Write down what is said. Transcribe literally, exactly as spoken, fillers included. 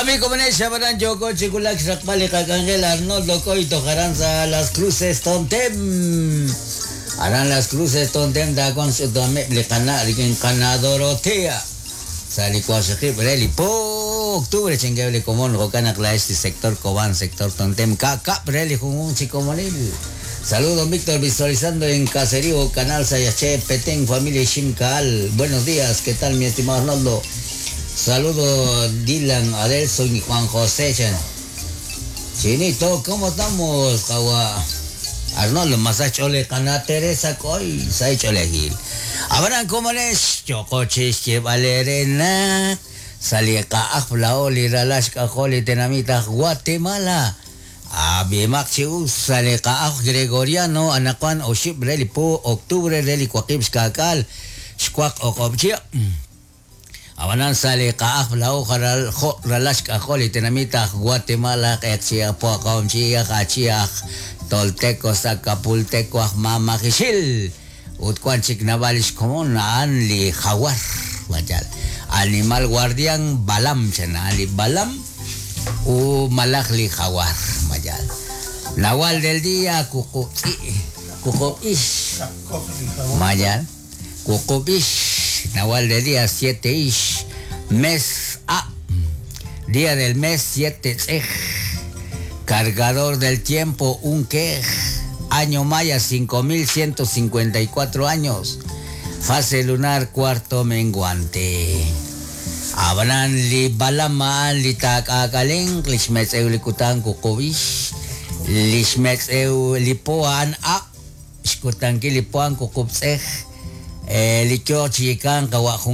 Jo'kami komonex xabaran yoko chikulak xraqb'al li qak'anjel Arnoldo Coito jaran sa Las Cruces Tontem. Aran Las Cruces Tontem taakon x'utameb li qana' rik'in qana Dorotea. Sa li waqxaqib' re li po octubre chinkew li komon jo'kan naq la'ex li sector Cobán, sector Tontem, ka'kab' re li junjunq chi komonil. Saludos, Víctor, visualizando en Caserío, Canal Sayache, Petén, familia Ximcaal. Buenos días, ¿qué tal, mi estimado Arnoldo? Saludo Dylan, Adelson y Juan José. Chan. Chinito, ¿cómo estamos, Jawa? Arnoldo, Masachole, Cana Teresa, Coy, Saichole Gil. Abraham, ¿cómo les? Chocochis, Valerena. Salika, Aflaoli, Ralashka, Joli, Tenamita, Guatemala. Abimak chius, salika, Gregoriano, Anacuan, Oship, Reli, Po, octubre, Reli, Cuaqib, Xcacal, Xcuac, Ocobchia. Abanan sale kaaf lao jaral jo ralash kajoli tenamita Guatemala etchia poakomchia achiach tolteco zacapulteco mamajixil utcuanchik navalish komon an li jaguar vayal animal guardián balam chena li balam u malaj li jaguar mayal nahual del día cucuqui cucuish mayal cucubish Nahual de día siete ish, mes A, día del mes siete ej, cargador del tiempo un quej, año maya cinco mil ciento cincuenta y cuatro años, fase lunar cuarto menguante. Abraham li balamaan li takakaleng, lishmetz eu likutan kukubish, lishmetz eu lipoan a, xkutanki lipoan kukubsej. Licho chikan kawa